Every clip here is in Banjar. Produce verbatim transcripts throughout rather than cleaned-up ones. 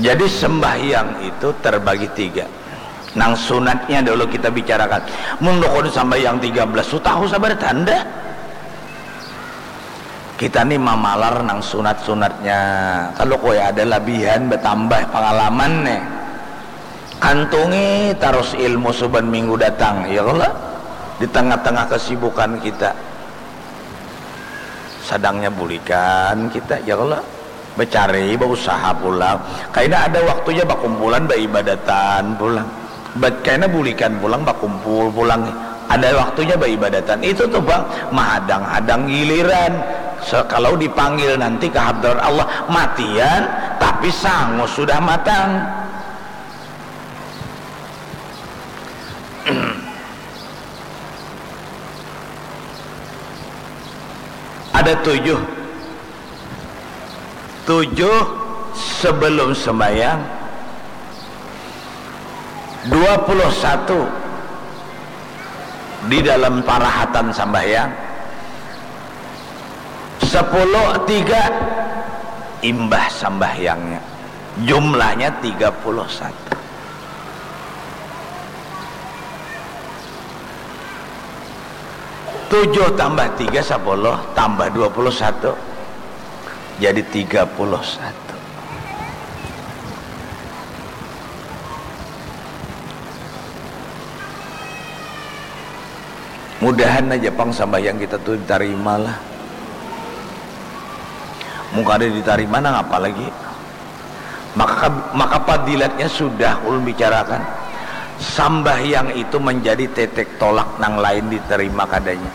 Jadi sembahyang itu terbagi tiga. Nang sunatnya dulu kita bicarakan. Mun rukun sambahyang tiga belas tu tahu sabar tanda. Kita ni mamalar nang sunat-sunatnya. Kalau kue ada labihan bertambah pengalaman nih. Kantungi terus ilmu suban minggu datang, ya Allah. Di tengah-tengah kesibukan kita. Sadangnya bulikan kita, ya Allah. Becari, bausaha pulang. Kaina ada waktunya bakumpulan, baibadatan pulang. Bat kaina bulikan pulang, bakumpul pulang. Ada waktunya baibadatan. Itu tuh bang, mahadang-hadang giliran. So, kalau dipanggil nanti ke hadrat Allah, matian, tapi sangu sudah matang. Ada tujuh. Tujuh sebelum sembahyang, dua puluh satu di dalam parahatan sambahyang, sepuluh tiga imbah sambahyangnya. Jumlahnya tiga puluh satu. Tujuh tambah tiga, sepuluh, tambah dua puluh satu. Jadi tiga puluh satu. Mudahan aja pang sambahyang kita tu ditarima lah. Mun kada ditarima nang apa lagi? Maka, maka padilatnya sudah ulun bicarakan. Sambahyang itu menjadi tetek tolak nang lain diterima kadanya.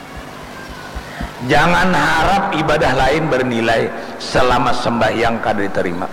Jangan harap ibadah lain bernilai selama sembahyang kada diterima.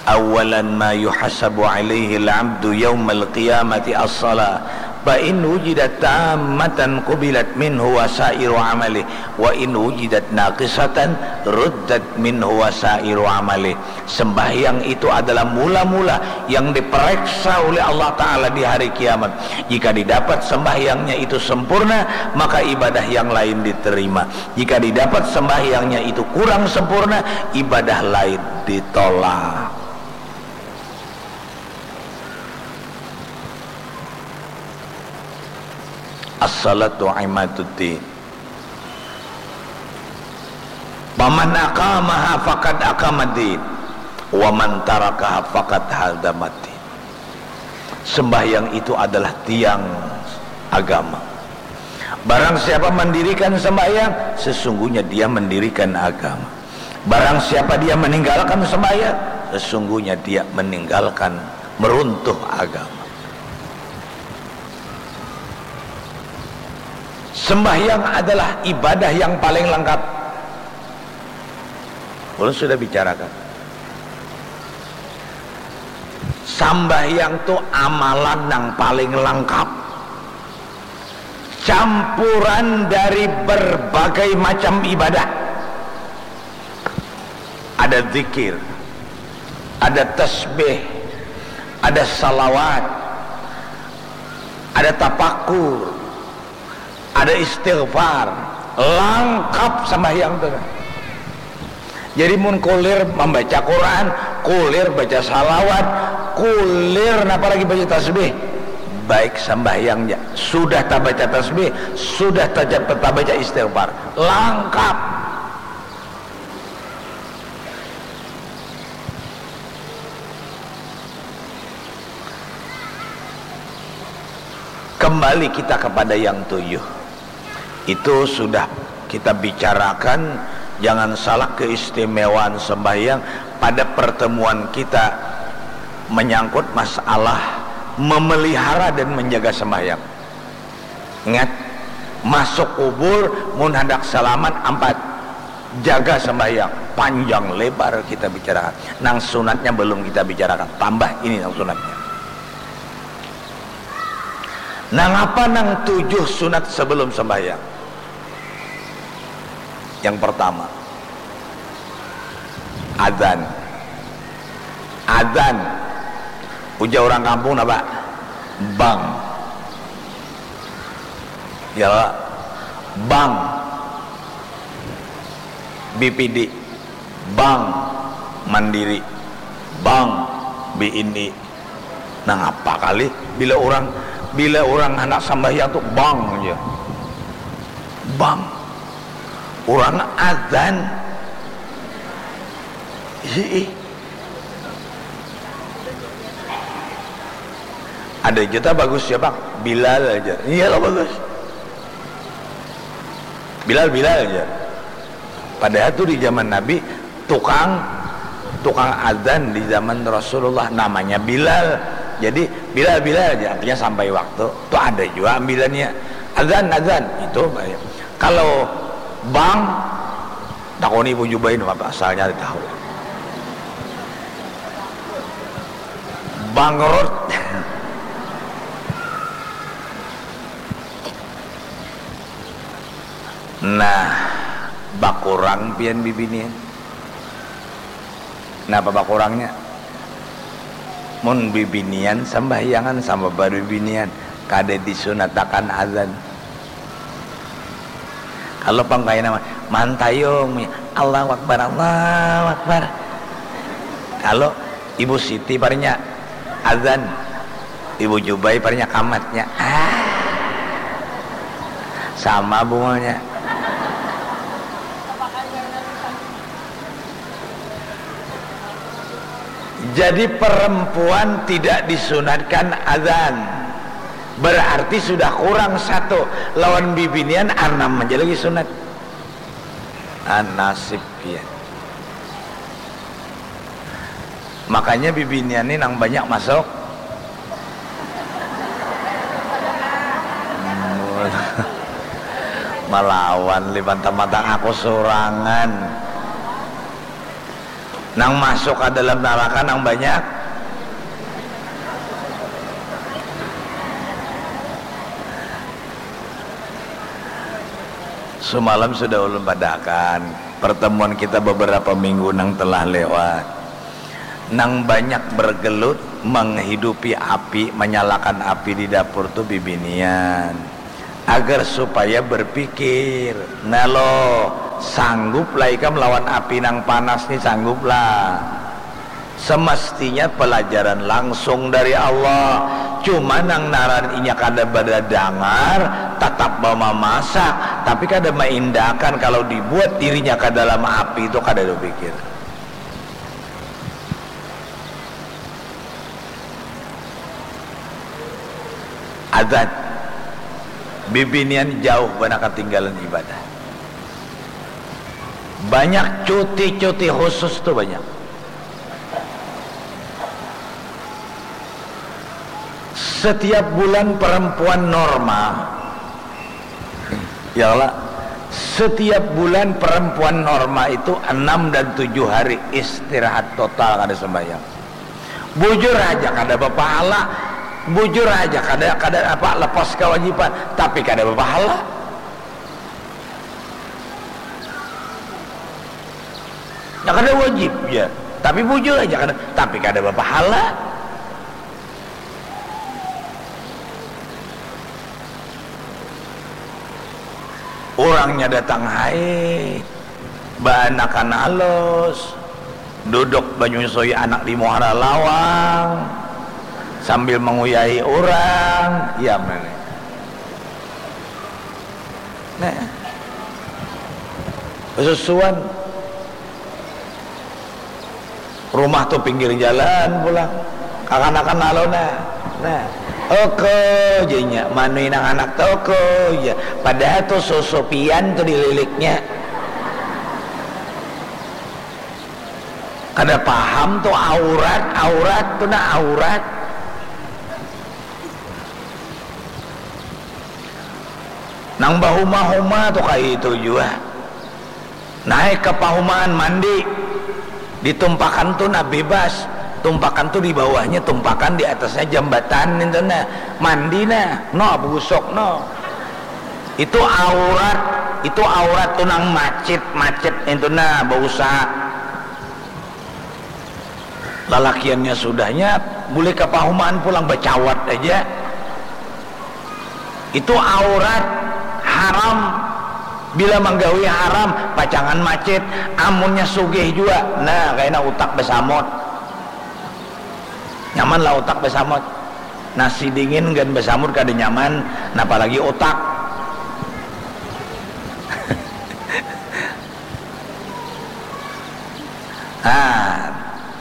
Awalan ma yuhasabu alaihi al-abdu yaumal qiyamati as-salah. Fa in wujidat tammatan qubilat minhu wasairu amalih. Wa in wujidat naqisatan ruddat minhu wasairu amalih. Sembahyang itu adalah mula-mula yang diperiksa oleh Allah Ta'ala di hari kiamat. Jika didapat sembahyangnya itu sempurna, maka ibadah yang lain diterima. Jika didapat sembahyangnya itu kurang sempurna, ibadah lain ditolak. As-salatu imaduddin. Paman aqamaha faqad aqamaddin, wa man tarakaha faqad hadamaddin. Sembahyang itu adalah tiang agama. Barang siapa mendirikan sembahyang, sesungguhnya dia mendirikan agama. Barang siapa dia meninggalkan sembahyang, sesungguhnya dia meninggalkan, meruntuh agama. Sembahyang adalah ibadah yang paling lengkap. Ulun sudah bicarakan. Sambahyang tu amalan nang paling lengkap. Campuran dari berbagai macam ibadah. Ada zikir, ada tasbih, ada salawat, ada tapakur, ada istighfar, langkap sambahyang tu. Jadi mun kulir mambaca Quran, kulir baca salawat, kulir napa lagi baca tasbih, baik sambahyang ja. Sudah tabaca tasbih, sudah taca-, tabaca istighfar, langkap. Kembali kita kepada yang tujuh. Itu sudah kita bicarakan, jangan salah keistimewaan sembahyang pada pertemuan kita menyangkut masalah memelihara dan menjaga sembahyang. Ingat, masuk kubur mun handak salamat ampat, jaga sembahyang, panjang lebar kita bicarakan. Nang sunatnya belum kita bicarakan, tambah ini nang sunatnya. Nangapa nang tujuh sunat sebelum sembahyang? Yang pertama, adzan. Adzan. Ujar orang kampung apa? Bang. Ya, bang. B P D. Bang. Mandiri. Bang, B N I. Nangapa kali bila urang, bila urang handak sambahyang tu bang ja. Bang. Urang adzan. Hiih. Ada ja ta bagus ja, Bang. Bilal aja. Iya lah bagus. Bilal, Bilal aja. Padahal tu di zaman Nabi, tukang, tukang adzan di zaman Rasulullah namanya Bilal. Jadi, Bilal, Bilal aja, artinya sampai waktu. Tu ada jua ambilannya. Adzan, adzan. Itu. Kalau bang, takuni Ibu Jubain apa asalnya ada tahu. Bangkrut. Nah, bakurang pian bibinian. Napa bakurangnya? Mun bibinian sambahyangan sama babibinian, kada disunatakan azan. Kalau pang kaya nama mantayung, Allahu Akbar, Allahu Akbar. Kalau Ibu Siti parnya azan, Ibu Jubai parnya kamatnya. Ah. Sama bungulnya. Jadi perempuan tidak disunatkan azan. Berarti sudah kurang satu. Lawan bibinian anam aja lagi sunat. Ah, nasib pian. Makanya bibinian ni nang banyak masuk. Malawan lipan tamata aku surangan. Nang masuk ka dalam naraka nang banyak. Sumalam sudah ulun padahakan pertemuan kita beberapa minggu nang telah lewat. Nang banyak bergelut menghidupi api, manyalakan api di dapur tu bibinian. Agar supaya berpikir, nah lo, sanggup lah ikam lawan api nang panas ni, sanggup lah. Semestinya pelajaran langsung dari Allah. Cuma nang naran inya kada badadangar, tatap bamamasak, tapi kada maindakan kalau dibuat dirinya ka dalam api tu kada bapikir. Azan. Bibinian jauh banar katinggalan ibadah. Banyak cuti-cuti khusus tu banyak. Setiap bulan perempuan normal, ya Allah, setiap bulan perempuan normal itu enam dan tujuh hari istirahat total, kada sembahyang. Bujur aja kada bapahala, bujur aja kada, kada apa, lepas kewajiban, tapi kada bapahala. Nah, kada wajib ya, tapi bujur aja kada, tapi kada bapahala. Urangnya datang haid, baanakan alus, duduk banyusui anak di muara lawang sambil manguyahi urang, ya mana. Nah, susuan. Rumah tu pinggir jalan pulang. Kakanakan lalu nah. Nah, oko janya manui nang anak tu oko ja. Padahal tu susu pian tu dililiknya. Kada paham tu aurat, aurat tu nah aurat. Nang bahuma-huma tu kaitu jua. Naik ka pahumaan mandi, di tumpakan tu nah bebas, tumpakan tu di bawahnya tumpakan, di atasnya jambatan nintu nah, mandi nah, no begusuk no. Itu aurat, itu aurat tu nang macit-macit nintu nah bausaha. Lalakiannya sudahnya bulih ka pahumaan pulang bacawat aja. Itu aurat, haram. Bila manggawi haram, pacangan macit. Amunnya sugih jua, nah, kaina utak basamut. Nyaman lah utak basamut. Nasi dingin gan basamut kada nyaman, napa lagi utak. Ah,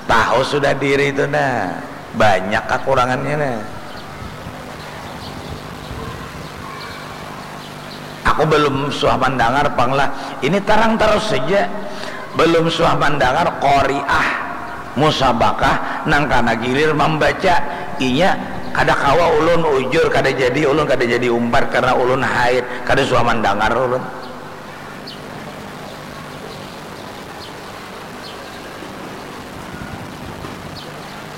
tahu sudah diri tu nah, banyak kakurangannya nah. Aku belum suah mandangar pang lah. Ini tarang tarus saja. Belum suah mandangar qariah musabakah nang kana gilir mambaca. Inya kada kawa ulun, ujur kada jadi ulun, kada jadi umpat karena ulun haid. Kada suah mandangar ulun.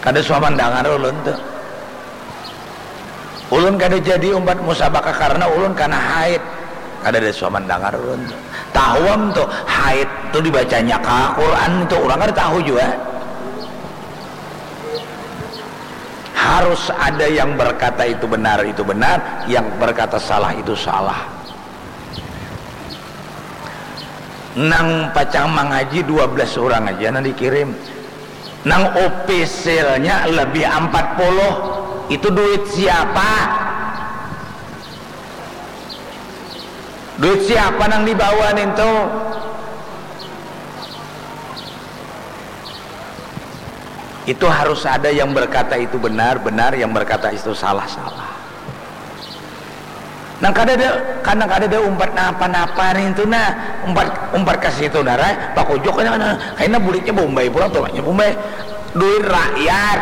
Kada suah mandangar ulun tu. Ulun kada jadi umpat musabakah karena ulun kana haid. Kada ada suah mandangar ulun tu. Tahu am tu, haid tu dibacanya ka Quran tu, urang kada tahu jua. Harus ada yang berkata itu benar, itu benar, yang berkata salah itu salah. Nang pacang mangaji dua belas urang aja nang dikirim. Nang opisilnya lebih ampat puluh. Itu duit siapa? Duit siapa nang dibawa nintu? Itu harus ada yang berkata itu benar, benar, yang berkata itu salah, salah. Nang kadada, nang kadada umpat napa-napa nintu nah, umpat, umpat ka situ nah, rai, pakujuknya nah, kaina bulitnya baumbai pulang tuh, nya baumbai. Duit rakyat.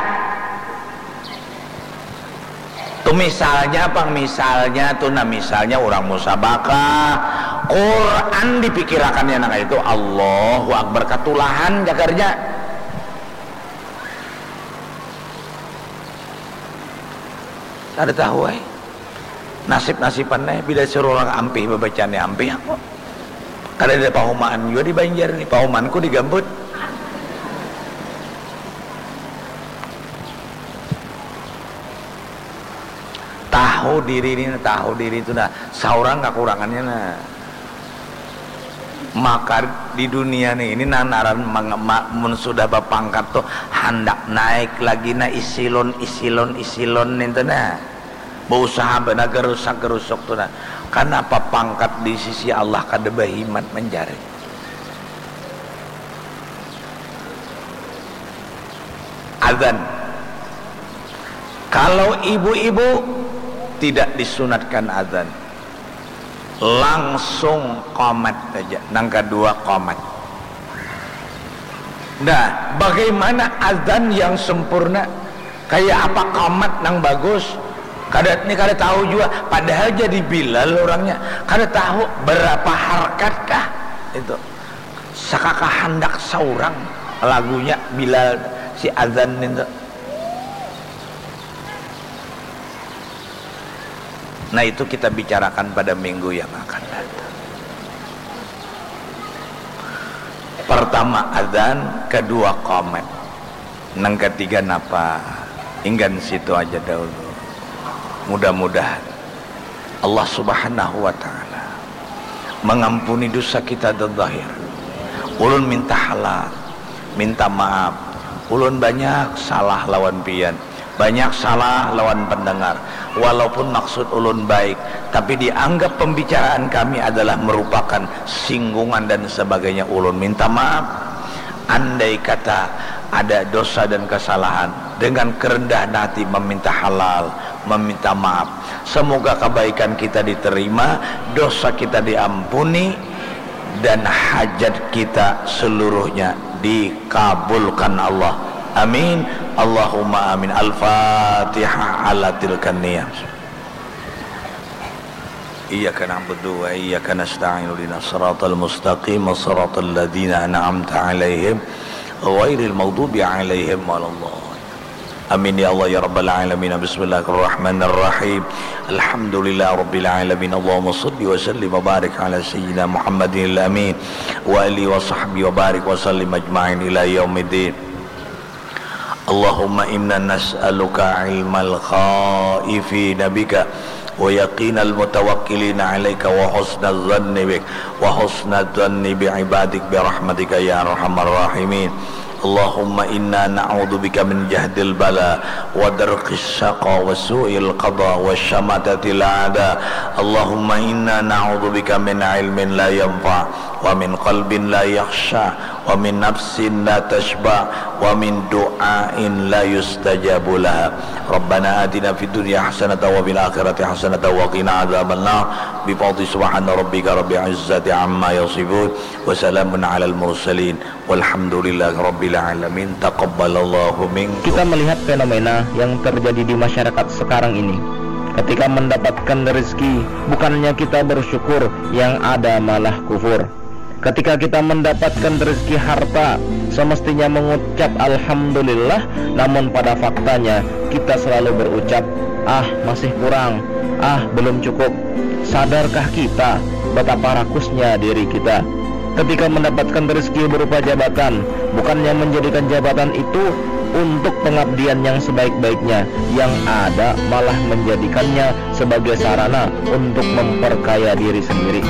Tu misalnya pang, misalnya tu nah, misalnya urang musabakah, Quran dipikirakannya nang kaya itu, Allahu Akbar, katulahan jagarnya. Kada tahu ai. Nasib-nasiban ai, bila suruh urang ampih babacanya ampih aku. Kada ada pahumaan jua di Banjar ni, pahumaanku di Gambut. Tahu diri ni, tahu diri tu nah, saurang kakurangannya nah. Maka di dunia ni ini nang ngaran mang-, ma-, mun sudah bapangkat tu handak naik lagi nah, isilon, isilon, isilon nintu nah. Bausaha banar garusak-garusuk tu nah. Kanapa pangkat di sisi Allah kada bahimat mancari? Adzan. Kalau ibu-ibu tidak disunatkan adzan. Langsung qomat saja. Nang kadua qomat. Nah, bagaimana adzan yang sempurna? Kaya apa qomat nang bagus? Kada, ni kada tahu jua. Padahal jadi Bilal urangnya. Kada tahu berapa harkat kah itu. Sakaka handak saurang lagunya Bilal si adzan nintu. Nah, itu kita bicarakan pada minggu yang akan datang. Pertama adzan, kedua qomat. Nang ketiga napa? Inggan situ aja dahulu. Mudah-mudahan Allah Subhanahu wa Ta'ala mengampuni dosa kita di zahir. Ulun minta halal, minta maaf. Ulun banyak salah lawan pian, banyak salah lawan pendengar. Walaupun maksud ulun baik, tapi dianggap pembicaraan kami adalah merupakan singgungan dan sebagainya. Ulun minta maaf. Andai kata ada dosa dan kesalahan, dengan kerendahan hati meminta halal, meminta maaf. Semoga kebaikan kita diterima, dosa kita diampuni, dan hajat kita seluruhnya dikabulkan Allah. Amin. Allahumma amin. Al-Fatihah ala tilkan niyah. Iyyaka na'budu wa iyyaka nasta'in. Ihdinas siratal mustaqim, siratal ladzina an'amta 'alaihim, ghairil maghdubi 'alaihim waladdallin. Amin ya Allah ya rabbal alamin. Bismillahirrahmanirrahim. Alhamdulillahirabbil alamin. Allahumma shalli wa sallim wa barik ala sayyidina Muhammadil amin wa alihi wa sahbihi wa barik wa sallim ajma'in ila yaumiddin. Allahumma inna nas'aluka ilmal khaifina bika ويقين المتوكلين عليك وحسن الظن بك وحسن الظن بعبادك برحمتك يا أرحم الراحمين. اللهم إنا نعوذ بك من جهد البلاء ودرك الشقاء وسوء القضاء وشماتة الأعداء. اللهم إنا نعوذ بك من علم لا ينفع ومن قلب لا يخشع ومن نفس لا تشبع ومن دعاء لا يستجاب لها. ربنا آتنا في الدنيا حسنة وفي الآخرة حسنة وقنا عذاب النار. بفضل سبحان ربك رب العزة عما يصفون. وسلام على المرسلين. والحمد لله رب العالمين. تقبل الله منكم. Kita melihat fenomena yang terjadi di masyarakat sekarang ini. Ketika mendapatkan rezeki, bukannya kita bersyukur, yang ada malah kufur. Ketika kita mendapatkan rezeki harta, semestinya mengucap alhamdulillah, namun pada faktanya kita selalu berucap, "Ah, masih kurang, ah, belum cukup." Sadarkah kita betapa rakusnya diri kita? Ketika mendapatkan rezeki berupa jabatan, bukannya menjadikan jabatan itu untuk pengabdian yang sebaik-baiknya, yang ada malah menjadikannya sebagai sarana untuk memperkaya diri sendiri.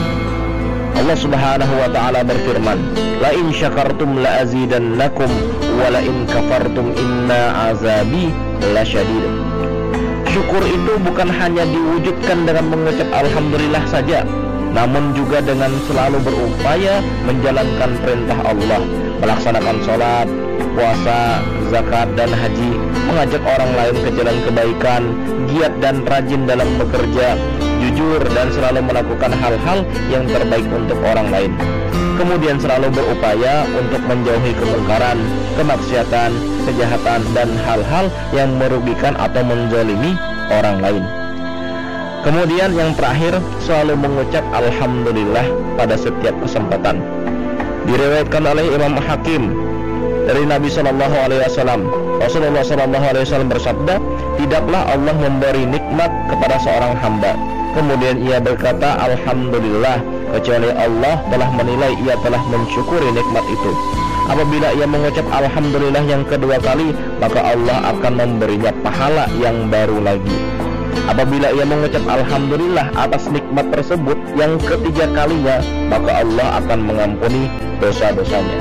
Allah Subhanahu wa Ta'ala berfirman, "La in syakartum la azidannakum, wa la in kafartum inna azabi lasyadid." Syukur itu bukan hanya diwujudkan dengan mengucap alhamdulillah saja, namun juga dengan selalu berupaya menjalankan perintah Allah, melaksanakan sholat, puasa, zakat, dan haji, mengajak orang lain ke jalan kebaikan, giat dan rajin dalam bekerja, jujur dan selalu melakukan hal-hal yang terbaik untuk orang lain. Kemudian selalu berupaya untuk menjauhi kemungkaran, kemaksiatan, kejahatan, dan hal-hal yang merugikan atau menzalimi orang lain. Kemudian yang terakhir, selalu mengucap alhamdulillah pada setiap kesempatan. Diriwayatkan oleh Imam Hakim dari Nabi Shallallahu Alaihi Wasallam, Rasulullah Shallallahu Alaihi Wasallam bersabda, "Tidaklah Allah memberi nikmat kepada seorang hamba, kemudian ia berkata alhamdulillah, kecuali Allah telah menilai ia telah mensyukuri nikmat itu. Apabila ia mengucap alhamdulillah yang kedua kali, maka Allah akan memberinya pahala yang baru lagi. Apabila ia mengucap alhamdulillah atas nikmat tersebut yang ketiga kalinya, maka Allah akan mengampuni dosa-dosanya."